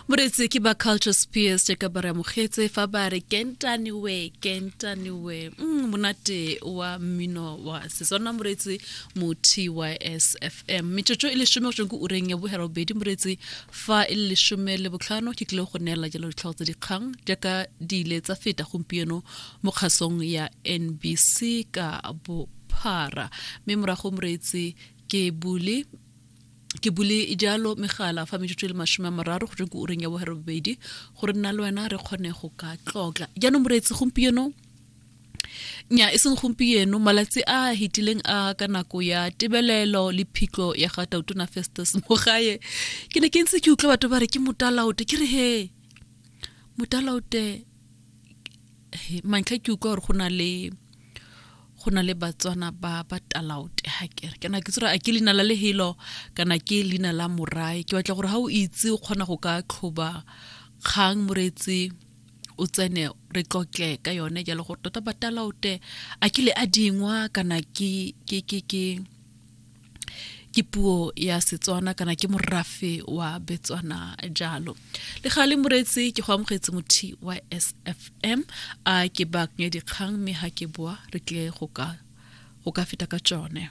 Moreetsi ke ba Culture Spears jaaka ba re amogetse fa ba re kentaniwe kentaniwe. Monate wa mmino wa Setswana moreetsi mo TYSFM. Metsotso e lesome go tsweng ko ureng ya boherobedi moreetsi fa e le 15 ke tlile go neela jalo ditlhogo tsa dikgang jaaka di ile tsa feta gompieno mo kgasong ya NBC ka bophara. Mme morago moreetsi ke bule Ke bule jalo megala fa metsotso e le 30 go tsweng ko ureng ya boherobedi gore nna le wena re kgone go ka tlotla. Jaanong moreetsi gompieno nya e seng gompieno malatsi a a hitileng a ka nako ya tebelelo le phitlho ya ga Tautona Festus Mogae ke ne ke ntse ke utlwa batho ba re ke motalaote ke re he motalaote mantlha ke utlwa gore go na le go na le Batswana ba ba talaote ha kere kana ke tsore a ke leina la lehelo kana ke leina la morae ke batla gore ha o itse o kgona go ka tlhoba kgang moreetsi o tsene re tlotle ka yone jalo gore tota batalaote a ke le a dingwa kana ke ke ke ke ke puo ya Setswana kana ke morafe wa Betswana jalo. Le gale moreetsi ke go amogetse mo TYSFM a ke baakanye dikgang mme ha ke boa re tle go ka feta ka tsone.